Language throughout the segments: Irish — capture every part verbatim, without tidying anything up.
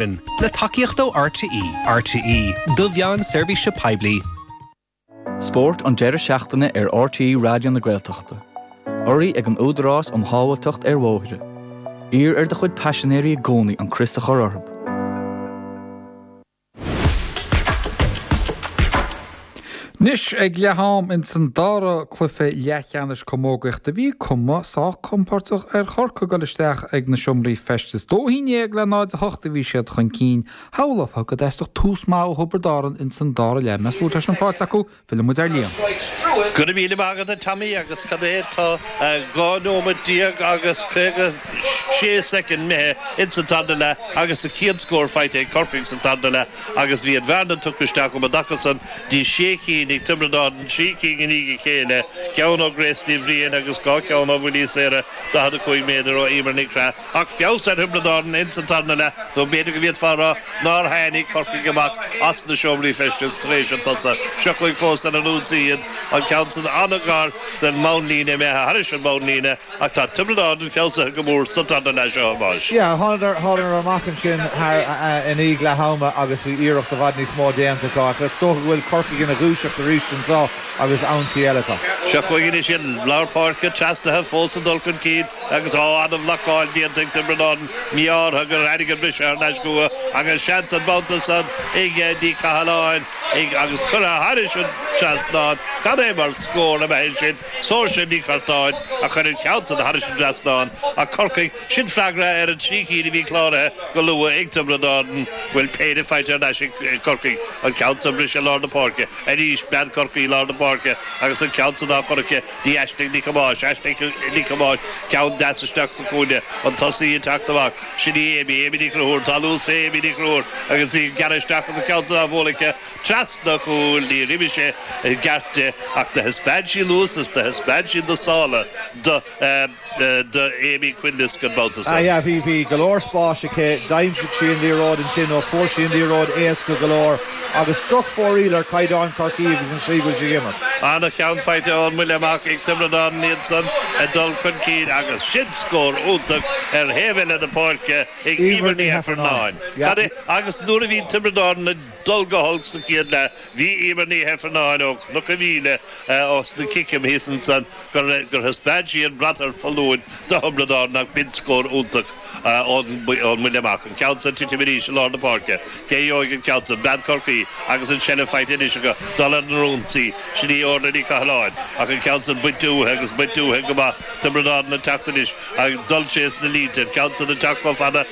Le tacaíocht ó RTÉ RTÉ do mheán seirbhíse poiblí. Spórt an deireadh seachtaine ar RTÉ Raidió na Gaeltachta. Urraithe ag an Údarás um Shábháilteacht ar Bhóithre. Iarr ar do chuid paisinéirí i gcónaí an crios a chur orthu. Anois ag leath-am ins an dara cluiche leathcheannais camógaíochta bhí cuma sách compordach ar Chorcaigh ag dul isteach ag na seomraí feistis. Dó haon déag le náid a hocht a bhí siad chun cinn. Shamhlófá go dteastódh tús maith ó Thiobraid Árann ins an dara leath. Meas tú an bhfuil sé sin faighte acu? Filleann muid ar Liam. Go raibh míle maith agat a Tommy agus cad é tá dhá nóiméad déag agus caoga sé soicind imithe ins an tarna leath agus an chéad scór faighte ag Corcaigh sa tarna leath agus bhí an bhearna tugtha isteach um an dtaca san dtí sé cinn ag Tiobraid Árann, trí cinn i ndiaidh a chéile, ceann ó Grace Ní Bhriain agus dhá cheann ó bhuillí saora daichead a cúig méadar ó Emer Nic Craith. Ach feabhas ar Thiobraid Árann ins an tarna leath, nó b'fhéidir go bhféadfá a rá nár tháinig Corcaigh amach as na seomraí feistis tar éis an tsosa. Seo chugainn fós ar an ionsaí iad, an ceann san an-ghar don mbonnlíne, imithe thairis an mbonnlíne, ach tá Tiobraid Árann feabhsaithe go mór sa tarna leath seo, a Thomáis. Yeah, thánadar thánadar amach ansin thar i ndiaidh leath ama agus bhí iarracht i bhfad níos mó déanta acu ach is dócha go bhfuil Corcaigh ina dhúiseacht arís anseo agus ionsaí eile acu. Seo chugainn anois iad, lár páirce trasnaithe fós ag dul chun cinn agus á an-bhlocáil déanta ag Tiobraid Árann, mí-ádh gur tháinig an briseadh thar n-ais chucu agus seans an babhta san ag Ní Chathalláin ag agus curtha thairis an trasnán. Cad é mar scór ab ea é sin? Saoirse Ní Churtáin a chuir an ceann san thairis an dtrasnán ach Corcaigh, sin freagra ar an trí cinn a bhí cláraithe go luath ag Tiobraid Árann. Bhfuil péire faighte thar n-ais ag Corcaigh, an ceann san briseadh lár na páirce arís, bean Chorcaí lár na páirce agus an ceann san á chur aici dtí Aisling Nic Thomáis, Aisling Nic Thomáis, ceann deas isteach sa chúinne, an tosaí ag teacht amach, sin í Amy, Amy Ní Chonchúir, tá luas fé Amy Ní Chonchúir agus í ag gearradh isteach agus an ceann san á bhualadh aici trasna an chúil, níor imigh sé i gceart di ach do thaispeáin sí luas is do thaispeáin sí na sála do do Amy Quinlisk an babhta Ah san. yeah, bhí bhí go leor spáis aici, d'aimsigh sí an liathróid ansin nó fuair sí an liathróid éasca go leor agus drochfhóraíl ar chaighdeán Chorcaí agus an slí go bhfuil sí ag imirt. Ana-cheann faighte ón mbuille amach ag Tiobraid Árann iad san ag dul chun cinn agus sin scór iontach ar thaobh eile na páirce ag Emer Emer Ní Ní Heifearnáin. Heifearnáin. Yeah. Cad é agus nuair a bhí Tiobraid Árann ag dul go holc sa chéad leath bhí Emer Ní Heifearnáin ó Chnoc an Mhíle os na ciceam thíos ansan gur gur thaispeáin sí an brat ar foluain do Thiobraid Árann ach b'in scór iontach ón mbuille amach. An ceann san titim arís i lár na páirce. Cé a gheobhaidh an ceann san? Bean Chorcaí agus an seilbh faighte anois acu dul ar an ionsaí. Sin í Orla Ní Chathalláin ach an ceann san bainte uaithi agus bainte uaithi go maith. Tiobraid Árann ag teacht anois ag dul trés na línte. An ceann san ag teacht chomh fada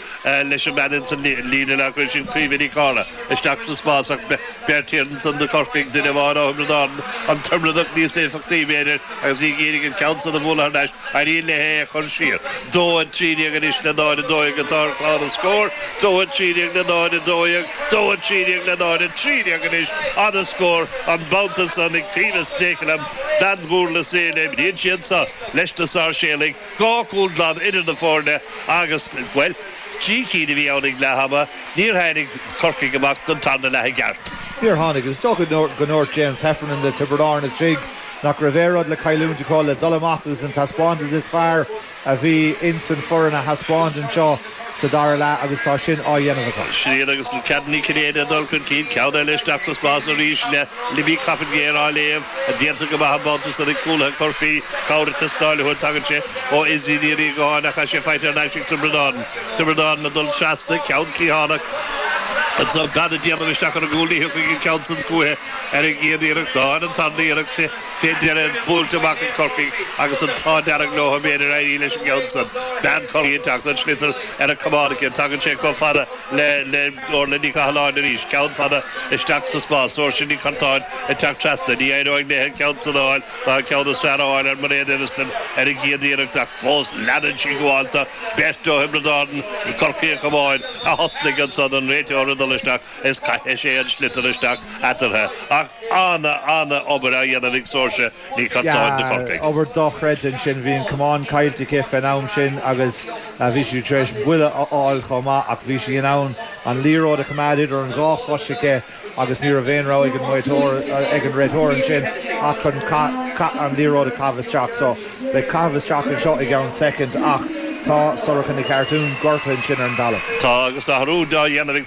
leis an mbean ins an líne leathchúil sin Caoimhe Ní Chártha isteach sa spás ach beirt thiar ansan do Chorcaigh, duine amháin ó Thiobraid Árann, an Tiobradach níos éifeachtaí b'fhéidir agus í ag iarraidh an ceann san a bhualadh thar n-ais. Éiríonn léi é a chur siar. Dó a trí déag anois le náid a dó dhéag atá ar chlár na scór. Dó a trí déag le náid a dó dhéag. Dó a trí déag le náid a trí déag anois. Ana-scór an babhta san ag Caoimhe Stakelum, bean Dhurlas Éile. Imríonn sí anso leis na Sáirséalaigh. Dhá chúl glan idir na foirne agus, bhuel, trí cinn a bhí ann ag leath ama. Níor tháinig Corcaigh amach don tarna leath i gceart. Níor tháinig. Is dócha go ndúirt James Heffernan le Tiobraid Árann istigh nach raibh aon rud le cailliúint acu le dul amach agus an taispeántas is fearr a bhí ins an foireann a thaispeáint anseo sa dara leath agus tá sin á dhéanamh acu. Sin iad agus Cead Ní Chinnéide ag dul chun cinn, ceann eile isteach sa spás arís le Libby Coppinger á léamh, déanta go maith an babhta san ag cúlaithe Chorcaí, cabhair ag teastáil uathu, tagann sé ó Izzy Ní Riagáin ach tá sé faighte thar n-ais ag Tiobraid Árann. Tiobraid Árann ag dul trasna, ceann cliathánach anso, bean ag déanamh isteach ar an gcúl, ní thiocfaidh an ceann san chúithi ar an gcéad iarracht ná ar an tarna iarracht. Fé dheireadh, buailte amach ag Corcaigh agus an t-ádh dearg leo b'fhéidir éirí leis an gceann san. Bean Chorcaí ag teacht, an sliotar ar a camán aici. Tagann sé chomh fada le le Orla Ní Chathalláin arís. Ceann fada isteach sa spás. Saoirse Ní Churtáin ag teacht trasna. Ní éireoidh léi an ceann san a fháil ná an ceann is fearr a fháil ar Mairéad Eviston ar an gcéad iarracht ach fós leanann sí gabháil. Tá beirt ó Thiobraid Árann, Corcaíoch amháin a thosnaigh ansan, an réiteoir ag dul isteach is caithfidh sé an sliotar isteach eatarthu. Ach ana, ana obair á dhéanamh ag Saoirse Ní Churtáin do Yeah, Chorcaigh. obair dochreidte ansin. Bhí an camán caillte aici fén am sin agus bhí sí tar éis buille a fháil chomh maith ach bhí sí in ann an liathróid a choimeád idir an dhá chois aici agus ní raibh aon rogha ag an réiteoir ag an réiteoir ansin ach chun an liathróid a chaitheamh isteach. So beidh caitheamh isteach anseo i gceann soicind ach Tá Sorcha Nic Artún gortaithe ansin ar an talamh. Tá agus athrú á dhéanamh